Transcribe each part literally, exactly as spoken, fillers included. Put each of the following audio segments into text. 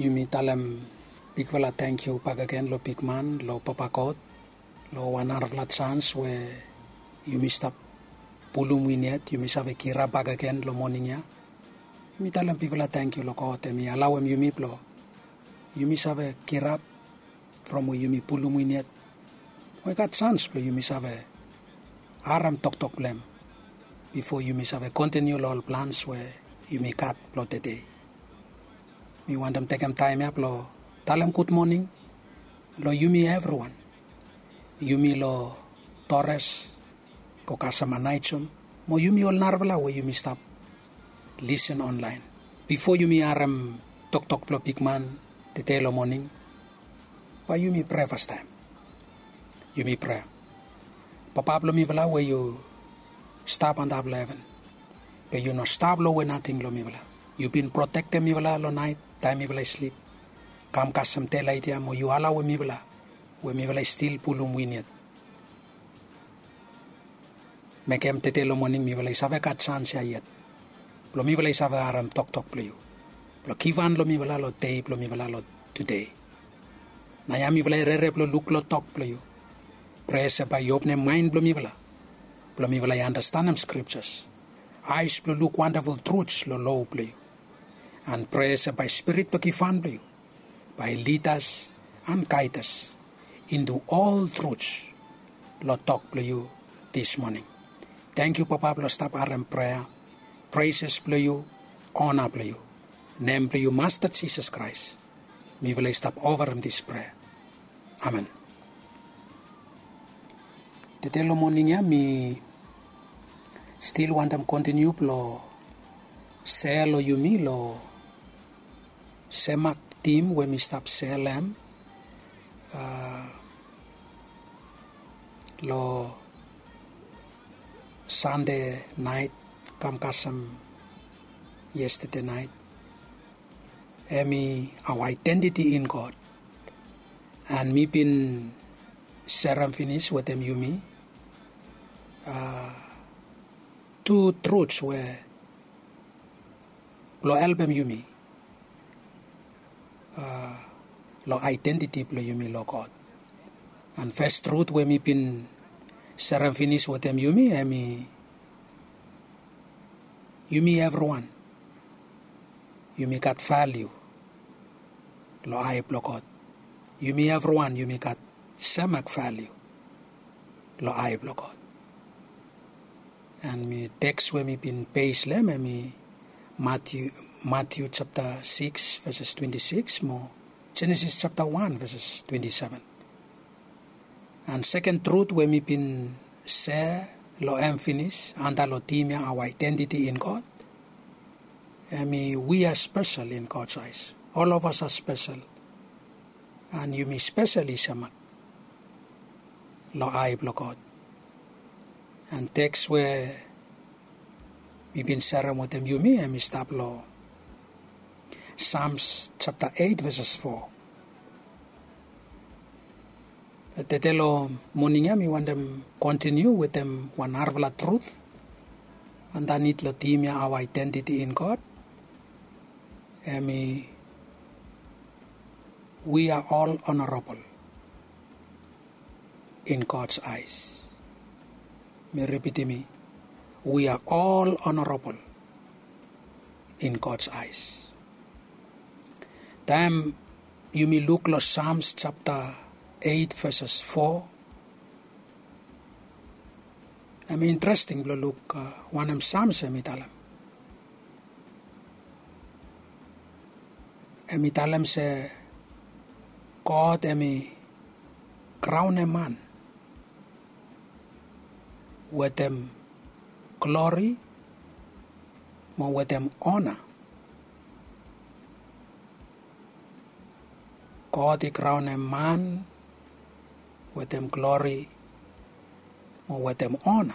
Yumi talem bigfala tangkiu bakegen long bigman, long Papa God, long wan narafala jans we yumi stap pulum win yet, yumi save kirap bakegen long moning ya. Yumi talem bigfala tangkiu long God, hemi alaoem yumi blong yumi save kirap from we yumi pulum win yet. We i gat jans blong yumi save harem toktok blong hem bifo yumi save kontiniu long ol plans we yumi gat blong tede. Mi wantem tekem taem ya blong talem gud moning long yumi evriwan. Yumi long Torres, go kasem Anaijom, mo yumi ol narafala we yumi stap lisen onlaen. Bifo yumi harem toktok blong bigman tede long moning, bae yumi prea fastaem. Yumi prea. Papa blong mifala we yu stap antap long heven, be yu no stap lowe nating long mifala. Yu bin protektem mifala long naet taem mifala i slip. Kam kasem delaet ya mo yu alaoem mifala we mifala i stil pulum win yet. Mekem tede long moning mifala i save gat jans ya yet blong mifala i save harem toktok blong yu blong givhan long mifala long dei blong mifala long tude. Naoia mifala i rere blong luk long tok blong yu. Prea se bae yu openem maen blong mifala blong mifala i anastenem skriptas, aes blong luk wandaful truts long loa blong yu. An prea se bae Spirit blong givhan blong yu bae i lidas an gaedas intu ol truts long tok blong yu dis moning. Tangkiu Papa blong stap harem prea, preses blong yu, ona blong yu. Nem blong yu Masta Jisas Kraes mifala i stap ofarem dis prea. Amen. Tede long moning ya mi stil wantem kontiniu blong sea long yumi long semak tim we mi stap sea long hem long Sande naet kam kasem yestede naet. Hemi our identity in God. An mi bin serem finis wetem yumi tu truts we blong helpem yumi long aedentiti blong yumi long God. An fes trut we mi bin serem finis wetem yumi hemi yumi evriwan yumi gat valiu long ae blong God. Yumi evriwan yumi gat semak valiu long ae blong God. An mi teks we mi bin bes long hem hemi Matiu, Matiu japta sikis veses twenti sikis mo Jenesis japta wan veses twenti seven. An seken trut we mi bin sea long hem finis antap long tim ya our identity in God. Hemi we are special in God's eyes. All of us are special. An yumi spesel i semak long ae blong God. An teks we mi bin serem wetem yumi hemi stap long Sams japta eit veses fo. Tede long moning ya mi wantem kontiniu wetem wan narafala trut andanit long tim ya our identity in God. Hemi we are all honorable in God's eyes. Mi ripitim i, we are all honorable in God's eyes. Taem yumi luk long Sams japta eit veses fo, hemi interesting blong luk wanem Sams hemi talem. Hemi talem se God hemi kraonem man wetem glori mo wetem ona. God i kraonem man wetem glori mo wetem ona.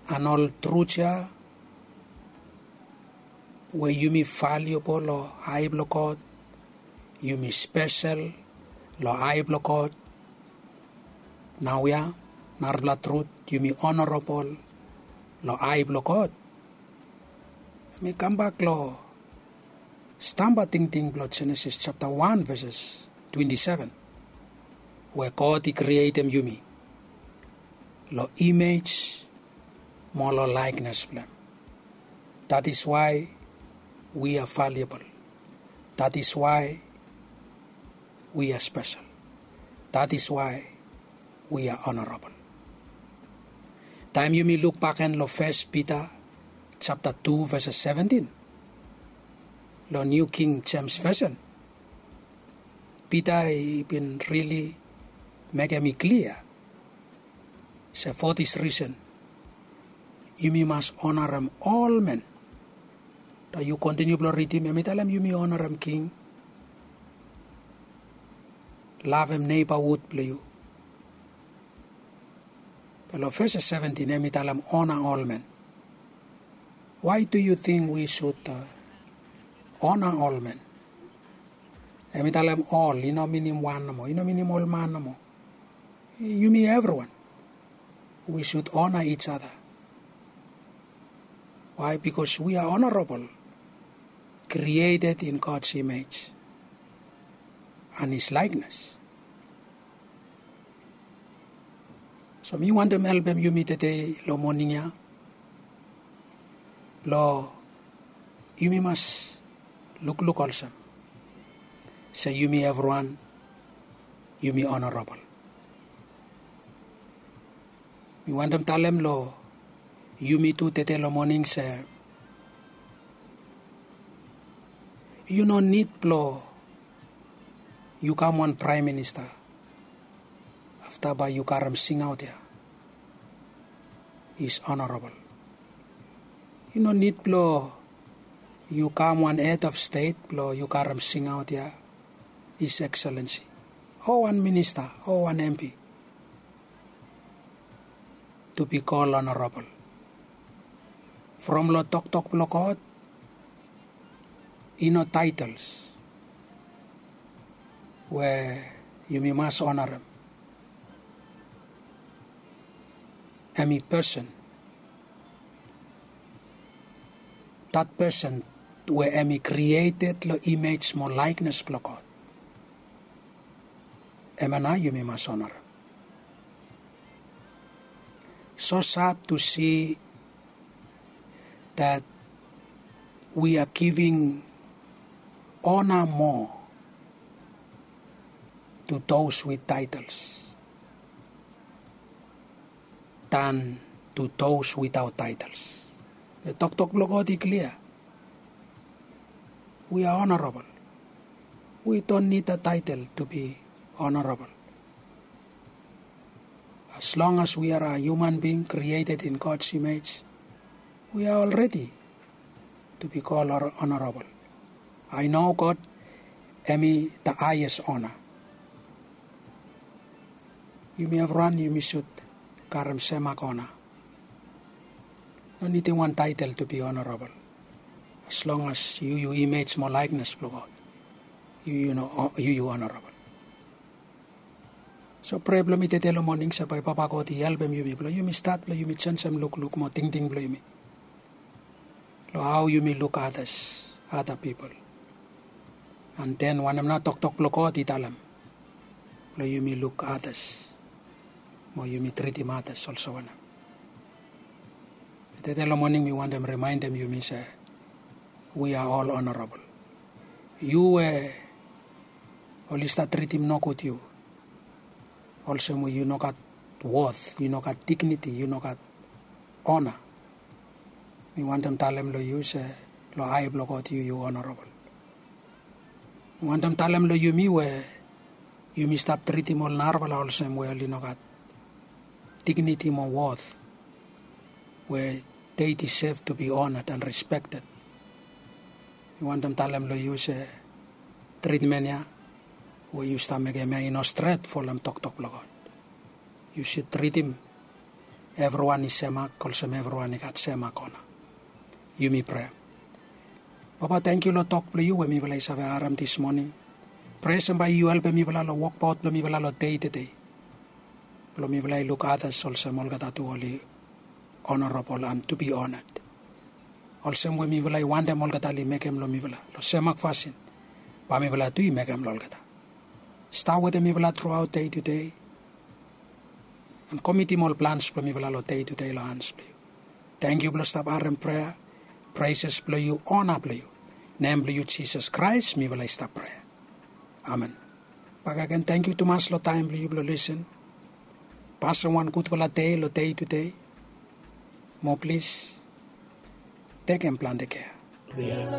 An ol trut ya we yumi valiubol long ae blong God, yumi spesel long ae blong God. Naoia narafala trut, yumi honorable long ae blong God. Hemi kambak long stamba tingting blong Jenesis japta wan veses twenti seven, we God i krietem yumi long imej mo long laeknes blong hem. That is why we are valuable. That is why we are special. That is why we are honorable. Taem yumi luk bakegen long Fes Pita japta tu veses seventin long Niu King Jems Vesen, Pita i bin rili mekem i klia se for this reason yumi mas onarem ol men. Taem yu kontiniu blong ridim, hem i talem yumi onarem king, lavem neighborhood blong yu. Be long veses seventin hem i talem ona ol men. Why do you think we should ona ol men? Hem i talem ol, i no minim wan nomo, i no minim ol man nomo. Yumi evriwan, we should honor each other. Why? Because we are honorable, created in God's image and his likeness. So mi wantem helpem yumi tede long moning ya blong yumi mas lukluk olsem se yumi evriwan yumi honorable. Mi wantem talem long yumi tu tede long moning se yu no nid blong yu kam wan praem minista afta bae yu karem singaot ya, is honorable. Yu no nid blong yu kam wan head of state blong yu karem singaot ya, his excellency, o wan minista o wan M P, to be called honorable. From long toktok blong God, i no titles we yumi mas onarem. Hem i person. That person we hem i created long imej mo laeknes blong God, hem ya nao yumi mas onarem. So sad to see that we are giving honor more to those with titles than to those without titles. Be toktok blong God i klia. We are honorable. We don't need a title to be honorable. As long as we are a human being created in God's image, we are already to be called honorable. I know God hem i the highest honor. Yumi evriwan yumi should karem semak ona. No nidim wan title to be honorable. As long as yu yu imej mo laeknes blong God, yu yu no yu yu honorable. So prea blong mi tede long moning se bae Papa God i helpem yumi blong yumi stat blong yumi jenisim lukluk mo tingting blong yumi long hao yumi luk others, other people. And then wanem nao toktok blong God i talem blong yumi luk others mo yumi tritim others olsem wanem. Tede long moning mi wantem rimaendem yumi se we are all honorable. Yu we oli stap tritim nogud yu olsem we yu no gat worth, yu no gat dignity, yu no gat honor, mi wantem talem long yu se long ae blong God yu yu honorable. Mi wantem talem long yumi we yumi stap tritim ol narafala olsem we oli no gat dignity mo worth we they deserve to be honored and respected. Mi wantem talem long yu se tritmen ya we yu stap mekem ya i no stret folem toktok blong God. Yu should tritim evriwan i semak olsem evriwan i gat semak ona. Yumi prea. Papa, tangkiu long tok blong yu we mifala i save harem this morning. Prea se bae yu helpem mifala long wokbaot blong mifala long dei tede blong mifala i luk others olsem olgeta tu oli honorable and to be honored. Olsem we mifala i wantem olgeta oli mekem long mifala long semak fasin, bae mifala tu i mekem long olgeta. Stap wetem mifala truaot dei tu dei. An komitim ol plans blong mifala long dei tu dei long hans blong yu. Tangkiu blong stap harem prea. Preses blong yu, ona blong yu. Nem blong yu Jisas Kraes mifala i stap prea. Amen. Bakegen tangkiu tumas long taem blong yu blong lisen. Pasem wan gudfala dei long dei tu dei. Mo plis tekem plante kea.